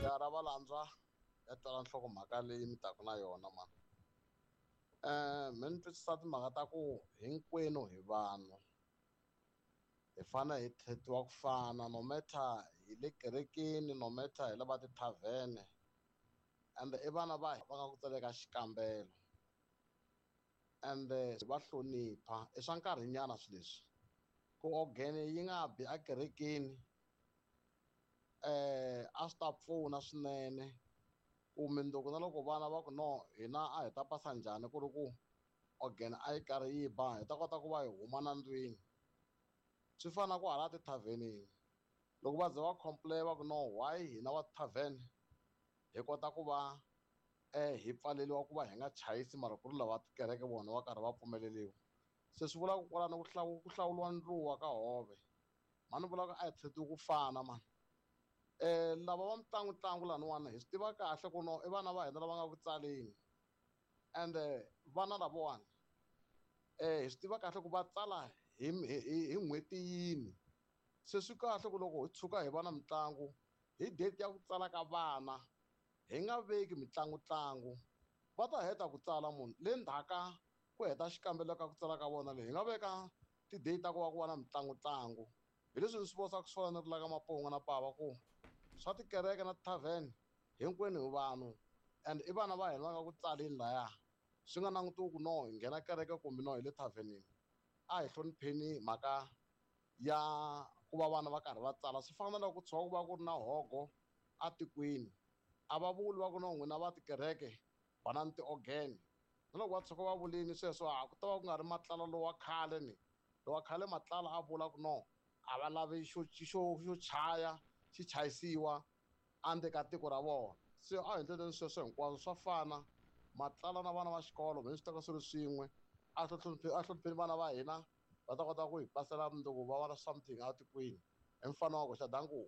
Ya ra valandzwa ya twala nhlokomhaka leyi mi taka na yona mani. Me ni twisisa timhaka ta ku hinkwenu hi vanhu hi fanele hi treat-iwa ku fana no matter hi le kerekeni no matter hi le va tithavhene ende i vana va va nga ku tsaleka xikambelo ende va hlonipha i swa nkarhinyana swilo leswi ku organ yi nga bi ekerekeni a swi ta pfuna swinene ku mundzuku na loko vana va ku no hina a hi ta pasa njhani ku ri ku organ a yi karhi yi ba hi ta kota ku va hi huma na ndlwini swi fana na ku hala tithavhenini loko va ze va complain va ku no why hina wa tithavhene hi kota ku va hi pfaleriwa ku va hi nga chayisi mara ku ri lava tikereke vona va karhi va pfumeleriwa se swi vula ku kwalano ku hlawuriwa ndluwa ka hove mhani vula ku a hi treat-iwi ku fana mani lava va mitlangutlangu laniwani hi swi tiva kahle ku no i vana va hina lava nga ku tsaleni ende vana lavawani hi swi tiva kahle ku va tsala hi hi n'hweti yini se swi kahle ku loko hi tshuka hi va na mitlangu hi date ya ku tsala ka vana hi nga veki mitlangutlangu va ta heta ku tsala munhu le ndzhaka ku heta xikambelo ka ku tsala ka vona leyi hi nga veka ti-date ta ku va ku va na mitlangutlangu hi leswi ni swi vonisaka swona ni ri la ka Mapongo na Pava ku swa tikereke na tithavhene hinkwenu hi vanhu and i vana va hina va nga ku tsaleni laya swi nga langutiwi ku no hi nghena kereke kumbe no hi le thavhenini a hi hlonipheni mhaka ya ku va vana va karhi va tsala swi fana na loko ku tshuka ku va ku ri na hogo atikweni a va vuli va ku no n'wina va tikereke banani ti-organ na loko va tshuka va vulini sweswo a ku ta va ku nga ri matlala lowa khale ni lowa khale matlala a vula ku no a va lavi xo xo xo chaya xi chayisiwa endzeni ka tiko ra vona se a hi endleni sweswo hinkwaswo swa fana matlala na vana va xikolo me swi teka swi ri swin'we a hlonipheni vana va hina va ta kota ku hi pasela mundzuku va va na something atikweni hi mfano wa ku xa danku.